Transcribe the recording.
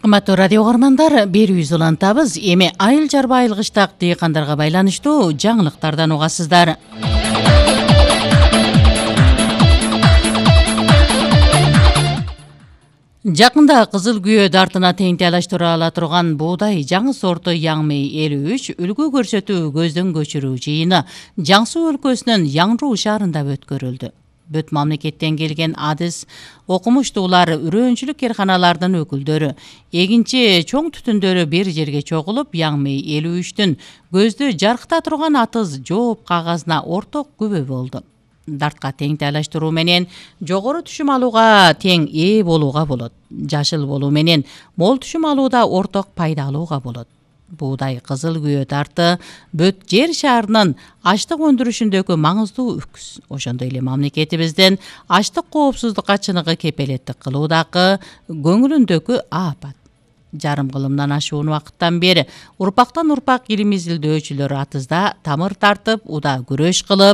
Кымбаттуу радио угармандар, берүүбүз улантабыз. Эми айыл жарба айылгычтак дыйкандарга байланыштуу жаңылыктардан угасыздар. Жакында кызыл күйөө дартына теңтелаштыра ала турган буудай жаңы сорту Яңмей 53 үлгү көрсөтүү көздөн көчүрүү жыйыны Жан Суу өлкөсүнүн Яңруу шаарында өткөрүлдү. Бүт мамлекеттен келген адис окумуштуулар, үрөөнчүлүк керканалардын өкүлдөрү, эгинчи чоң түтүндөрү бир жерге чогулуп, Яңмей 53-түн көздү жаркыта турган атыз жооп кагазына орток күбө болду. Дартка тең тайлаштыруу менен жогору түшүм алууга тең ээ болууга болот. Жашыл болуу менен мол түшүм алууда орток пайда алууга болот. Буудай кызыл күйөө дарты бүт жер шаарынын ачлык өндүрүшүндөгү маңыздуу үкс. Ошондой эле мамлекетибиздин ачлык коопсуздукка чыныгы кепелеттик кылуудагы көңүлүндөгү аапат. Жарым кылымдан ашуун убакыттан бери урпактан урпак илим изилдөөчүлөр атызда тамыр тартып, уда күрөш кылып,